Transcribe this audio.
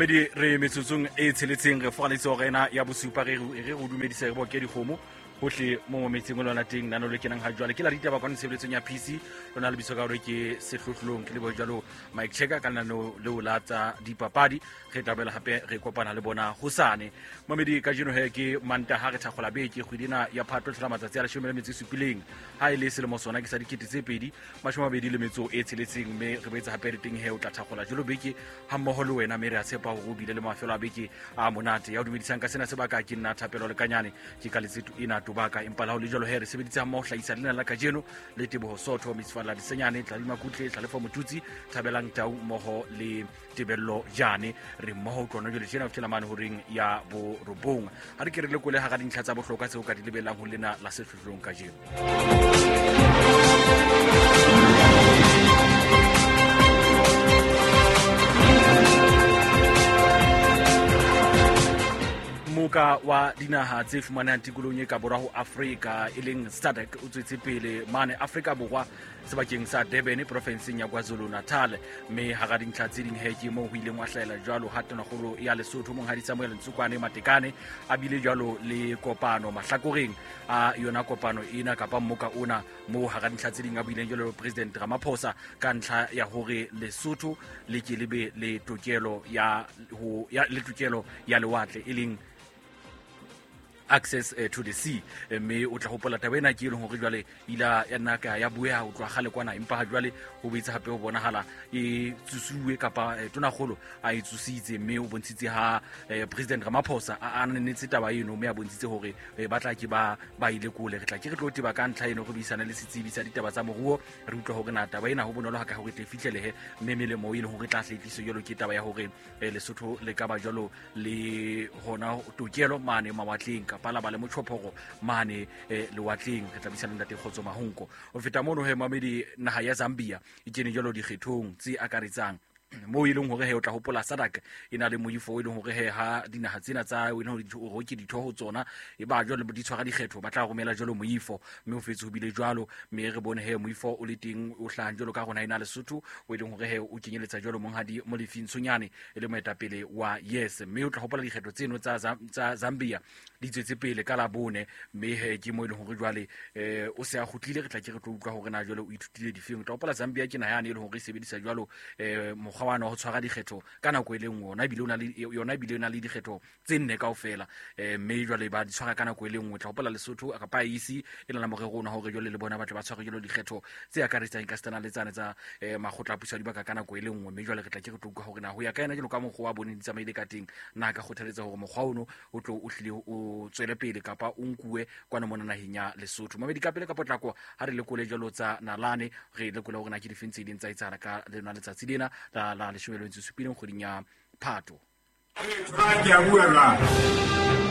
Mamedi, re metsotsong e tsheletseng re fogaletse hora ena ya bosupa. Re re go dumedisa, re boke dikgomo hohle mo metseng o lona teng. Nano le kenang ha jwale ke la ditaba kwano tshebeletsong ya PC lona lebitso ka hore ke Sehlohlolong. Ke lebohe jwalo Mike Checker ka lenaneo leo la tsa dipapadi. Re tla boela hape re kopana le bona hosane. Mamedi, kajeno he ke Mantaha, re thakgola beke. Kgwedi ena ya Phato tlhola matsatsi a 17 ha e le selemo sona ke sa 2026. Mme re boetse hape re teng he o tla thakgola jalo beke ha mmoho le wena, mme re a tshepa hore o bile le mafelo a beke a monate. Ya o dumedisang ka sena sebaka ke nna Thapelo Lekanyane, ke ka letseto ena tobaka. Empa la ho le jalo he re sebeditse ha mmoho hlahisa lena la kajeno le Teboho Sotho, Mitsfalla Disenyane, Tladima Kutle, Tlalefa Motutsi, Thabelang Tau mmoho le Tebello Jane. Re mmoho utlwana jale tjena ho fihlela mane horeng ya 9. Ha re ke re lekole hara dintlha tsa bohlokwa tseo ka di lebellang ho lena la Sehlohlolong kajeno. Moka wa dinaha tse fumanehang tikolong e ka borwa ho Afrika e leng SADC o tswetse pele mane Afrika Borwa sebakeng sa Durban, porofenseng ya KwaZulu Natal. Mme hara dintlha tse ding he ke moo ho ileng wa hlahela jwalo ha tonakgolo ya Lesotho, monghadi Samuel Ntsukwane Matekane, a bile jwalo le kopano mahlakoreng a yona kopano ena kapa mmoka ona, moo hara dintlha tse ding a buileng jwalo le President Ramaphosa ka ntlha ya hore Lesotho le ke le be le tokelo ya ho ya le tokelo ya lewatle, e leng access to the sea. Mme o tla hopola taba ena ke e leng hore jwale ila ya nna ka ya bueha ho tloha kgale kwana, empa ha jwale ho boetse hape ho bonahala e tsosuwe kapa tonakgolo a e tsositse. Mme o bontshitse ha President Ramaphosa a ananetse taba eno, mme a bontshitse hore ba tla ke ba ba ile kole. Re tla ke re tlo teba ka ntlha eno, re buisane le setsebi sa ditaba tsa moruo, re utlwa hore na taba ena ho bonolo ha ka hore tle fihlelehe, mme melemo e leng hore tla hle tliso jwalo ke taba ya hore Lesotho le ka ba jwalo le hona tokelo mane mawatleng kapa la ba le motjhophoro mane lewatleng. Re tla buisana le ntate Kgotso Mahonko. Ho feta mono he mamedi, naha ya Zambia e kene jwalo dikgethong tse akaretsang, moo e leng hore he o tla hopola SADC e na le moifo o e leng hore he ha dinaha tsena tsa e leng hore ke ditho ho tsona e ba jwalo di tshwara dikgetho, ba tla romela jwalo moifo. Mme ho fetse ho bile jwalo, mme re bone he moifo o le teng o hlahang jwalo ka rona ena Lesotho, o e leng hore he o kenyeletsa jwalo monghadi Molefi Ntshonyane e le moetapele wa Yes. Mme o tla hopola dikgetho tseno tsa Zambia di tswetse pele ka Labone, mme he ke mo e leng hore jwale o se a kgutlile. Re tla ke re tlo utlwa hore na jwale o ithutile difeng. O tla hopola Zambia ke naha yane e leng hore e sebedisa jwalo mokgwa wa ho tshwara dikgetho ka nako e le nngwe. Ona ebile o na le yona, ebile o na le dikgetho tse nne kaofela, mme jwale ba di tshwara ka nako e le nngwe. Tla hopola Lesotho kapa IEC e na le morero ona hore jwale le bona ba tle ba tshware jwalo dikgetho tse akaretsang ka setana le tsane tsa makgotla a puso ya dibaka ka nako e le nngwe. Mme jwale re tla ke re tlo utlwa hore na ho ya ka yena jwalo ka mokgwa wa bone di tsamaile ka teng, na ka kgothaletsa hore mokgwa ono o tlo o hlile o tswele pele kapa o nkuwe kwano mona naheng ya Lesotho. Mamedi, ka pele ka potlako ha re lekole jwalo tsa nalane, re lekole hore na ke difeng tse ileng tsa etsahala ka lona letsatsi lena la 17 kgweding ya Phato. Ke a bua jwale.